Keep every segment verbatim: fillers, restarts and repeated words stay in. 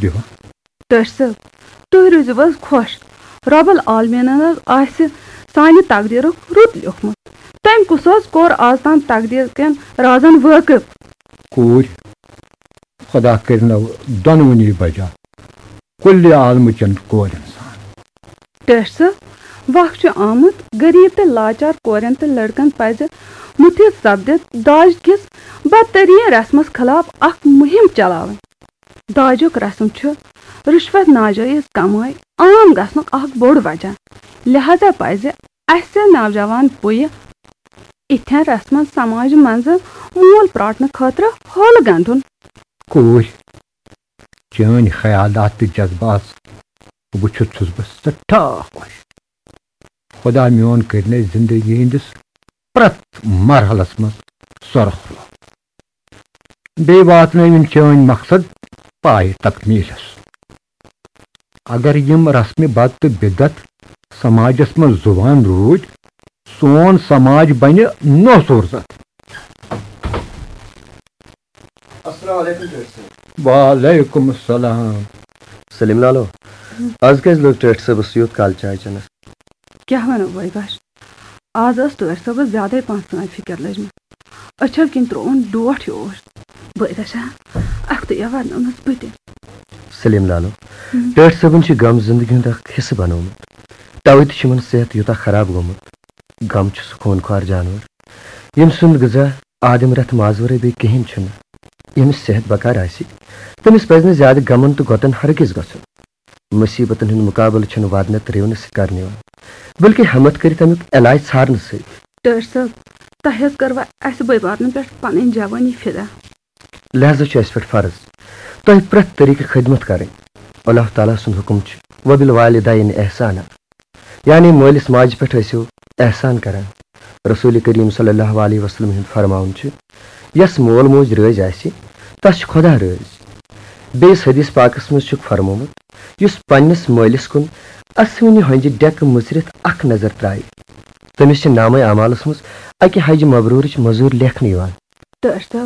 دِوان۔ ٹٲٹھۍ صٲب، تُہۍ روٗزِو حظ خۄش۔ رۄب العالمیٖنَن حظ آسہِ سانہِ تقدیٖرُک رُت لیوٗکھمُت۔ تٔمۍ کُس حظ کوٚر آز تام تقدیٖر کٮ۪ن رازن وٲقف؟ کوٗرۍ، خۄدا کٔرِنو دۄنوٕنی بجا کُلہِ عالمہٕ چٮ۪ن کورٮ۪ن سان۔ ٹٲٹھۍ صٲب، وق چھُ آمُت، غریٖب تہٕ لاچار کورٮ۪ن تہٕ لڑکن پزِ مُتحد سپدِتھ داج کِس بدتریٖن رسمس خلاف اکھ مُہِم چلاوٕنۍ۔ داجُک رسم چھُ رُشوت ناجٲیز کمٲے عام گژھنُک اکھ بوٚڑ وجہ، لہذا پزِ اسہِ نوجوان پُیہِ اِتھٮ۪ن رسمن سماجہِ منٛزٕ موٗل پراٹنہٕ خٲطرٕ ہولہٕ گنٛڈُن۔ کوٗرۍ، چٲنۍ خیالات تہٕ جذبات وٕچھِتھ چھُس بہٕ سٮ۪ٹھاہ خۄش۔ خۄدا میون کٔرِنَے زِندگی ہِنٛدِس پرٛٮ۪تھ مرحلس منٛز سۄرخ رو۔ بیٚیہِ واتنٲوِن چٲنۍ مقصد پایہِ تکمیٖلس۔ اگر یِم رسمِ بد تہٕ بدعت سماجس منٛز زُوان روٗدۍ، سون سماج بنہِ نوسوٗر زتھ۔ السلام علیکم ٹٲٹھۍ صٲب۔ وعلیکم السلام۔ سلیم لالو، از کیازِ لوٚگ ٹٲٹھۍ صٲبس یوٗت کال چاے چٮ۪نس؟ کیٛاہ ونو بٲے بچھ، از ٲس ٹٲٹھۍ صٲبس زیادے پہن سٲنۍ فکر لٔجمٕژ۔ أچھو کِنۍ ترووُن ڈوٹھ ہیوٗ اوس۔ بٲے دَچھا، اکھتُے وننٲونس بہٕ تہِ۔ سلیم لالو، ہم۔ ٹٲٹھۍ صٲبن چھُ غم زندگی ہُنٛد اکھ حصہٕ بنوومُت۔ توے تہِ چھُ یِمن صحت یوٗتاہ خراب گوٚمُت۔ غم چھُ سُہ خوٗن خوار جانور، ییٚمۍ سُنٛد غذا آدم رتھ مازورے بیٚیہِ کِہیٖنۍ چھُنہٕ۔ ییٚمِس صحت بکار آسہِ، تٔمِس پزِ نہٕ زیادٕ غمن تہٕ غۄطن ہرگز گژھُن۔ مُصیبتن ہُنٛد مُقابلہٕ چھُنہٕ ودنہٕ ترٛیونہٕ سۭتۍ کرنہٕ یِوان، بلکہِ ہمت کٔرِتھ امیُک علاج ژھارنہٕ سۭتۍ۔ ٹٲٹھۍ صٲب، تۄہہِ حظ کٔروا اسہِ بٲے بارنٮ۪ن پٮ۪ٹھ پنٕنۍ جوٲنی فدا؟ لہذا چھُ اسہِ پٮ۪ٹھ فرض تۄہہِ پرٛٮ۪تھ طریٖقہٕ خدمت کرٕنۍ۔ اللہ تعالیٰ سُنٛد حُکم چھُ، "وبالوالدین احسانا"، یعنی مٲلِس ماجہِ پٮ۪ٹھ ٲسِو احسان کران۔ رسول کریم صلی اللہ علیہ وسلم ہُنٛد فرماوُن چھُ، "یس مول موج رٲضۍ آسہِ، تس چھُ خدا رٲضۍ۔" بیٚیِس حدیث پاکس منٛز چھُکھ فرمومُت، "یُس پننِس مٲلِس کُن اسوٕنہِ ہۄنٛجہِ ڈٮ۪کہٕ مُژرِتھ اکھ نظر ترٛایہِ، تٔمِس چھِ نامے اعمالس منٛز اکہِ حجہِ مبروٗرٕچ مٔزوٗرۍ لیکھنہٕ یِوان۔" ٹٲٹھۍ صٲب،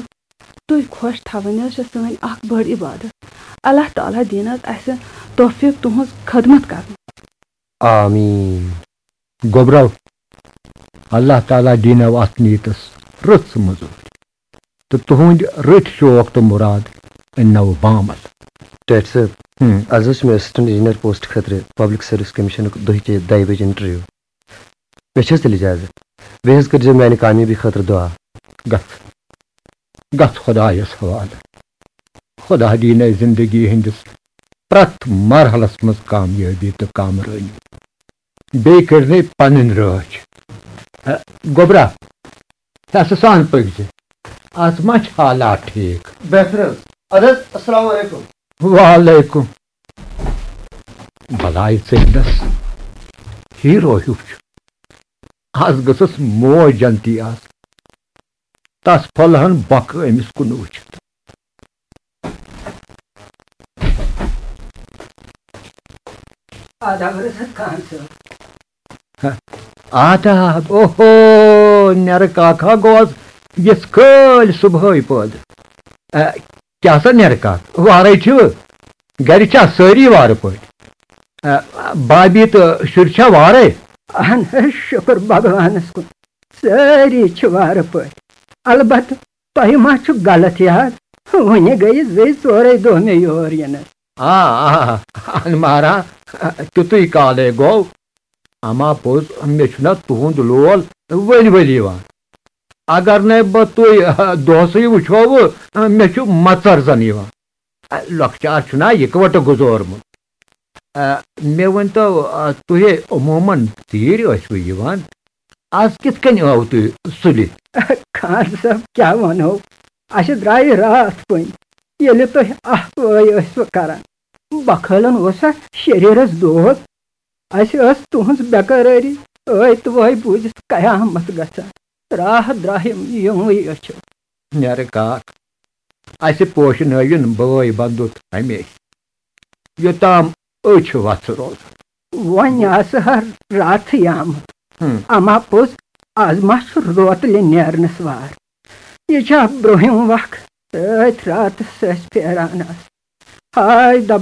تُہۍ خۄش تھاوٕنۍ حظ چھِ سٲنۍ اکھ بٔڑ عبادت۔ اللہ تعالیٰ دِیِن حظ اسہِ توفیٖق تُہٕنٛز خدمت کرنُک۔ آمیٖن۔ گوٚبرو، اللہ تعالیٰ دِینو اتھ نیٖتس رٕژ مٔزوٗرۍ تہٕ تُہٕنٛدۍ رٕتۍ شوق تہٕ مُراد أننو بامل۔ ٹٲٹھۍ صٲب، ہم۔ از حظ چھُ مےٚ اسسٹنٹ انجینئر پوسٹ خٲطرٕ پبلک سروس کمیشنُک دُہچہِ دَیہِ بجہِ انٹرویو۔ مےٚ چھِ حظ تیٚلہِ اجازت؟ بیٚیہِ حظ کٔرۍزیو میانہِ کامیٲبی خٲطرٕ دُعا۔ گژھ، گژھ خۄدایس حوالہٕ۔ خۄدا دِینَے زندگی ہٕنٛدِس پرٛٮ۪تھ مرحلس منٛز کامیٲبی تہٕ کامرٲنی۔ بیٚیہِ کٔرۍزِ پنٕنۍ رٲچھ۔ اے، گوٚبرا، ہٮ۪سہٕ سان پٔکۍزِ۔ از ما چھِ حالات ٹھیٖک؟ بہتر حظ۔ اَدٕ حظ، السلام علیکم۔ وعلیکم۔ بلاے ژٔلِنس ہیرو ہیوٗ چھُ۔ از گٔژھٕس موج جنتی آسٕنۍ۔ تس پھۄلہٕ ہن بۄکہٕ أمِس کُن وٕچھِتھ۔ آداب رٔسد خان صٲب۔ آداب، اوہو، نٮ۪رٕ کاکھا گوس یِتھ کٲلۍ صُبحٲے پٲدٕ۔ اے، کیٛاہ سا نٮ۪رٕ کاک، وارَے چھِوٕ؟ گَرِ چھا سٲری وارٕ پٲٹھۍ؟ اے، بابی تہٕ شُرۍ چھا وارَے؟ اہن حظ، شُکر بھگوانَس کُن، سٲری چھِ وارٕ پٲٹھۍ۔ البتہٕ تۄہہِ ما چھُ غلط یاد؟ وُنہِ گٔیہِ زٕے ژورے دۄہ مےٚ یور یِنس۔ آ، آ، انمارا، تیُتُے کالے گوٚو۔ اما پوٚز، مےٚ چھُنہ تُہُنٛد لول ؤلۍ ؤلۍ یِوان۔ اگر نے بہٕ تُہۍ، آ، دۄہسٕے وٕچھو، مےٚ چھُ مژر زن یِوان۔ آ، لۄکچار چھُنہ اِکوٹہٕ گُزورمُت۔ آ، مےٚ ؤنۍتو، آ، تُہۍ عموٗماً ژیٖرۍ ٲسوٕ یِوان؟ از کِتھ کٔنۍ آو تُہۍ سُلہِ؟ خان صٲب، کیٛاہ وَنو؟ اَسہِ درٛایہِ راتھ کُن، ییٚلہِ تُہۍ اَکھ وٲے ٲسوٕ کران۔ بۄکھٲلن اوسا شریٖرس دود؟ اَسہِ ٲس تُہٕنٛز بے قرٲری ٲے تہٕ وٲے بوٗزِتھ قیامت گژھان۔ راہ درٛاہِم یِموٕے أچھو۔ نٮ۪رٕ کاک، اَسہِ پوشنٲوِن بٲے بندُت ہمیشہٕ، یوٚتام أچھ وژھٕ روزن۔ وۄنۍ آسہٕ ہا راتھٕے آمُت۔ ہم۔ اما پوٚز، از ما چھُ روتلہِ نیرنس وار؟ یہِ چھا برٛونٛہِم وق؟ أتھۍ راتس ٲسۍ پھیران آسان۔ ہاے دپان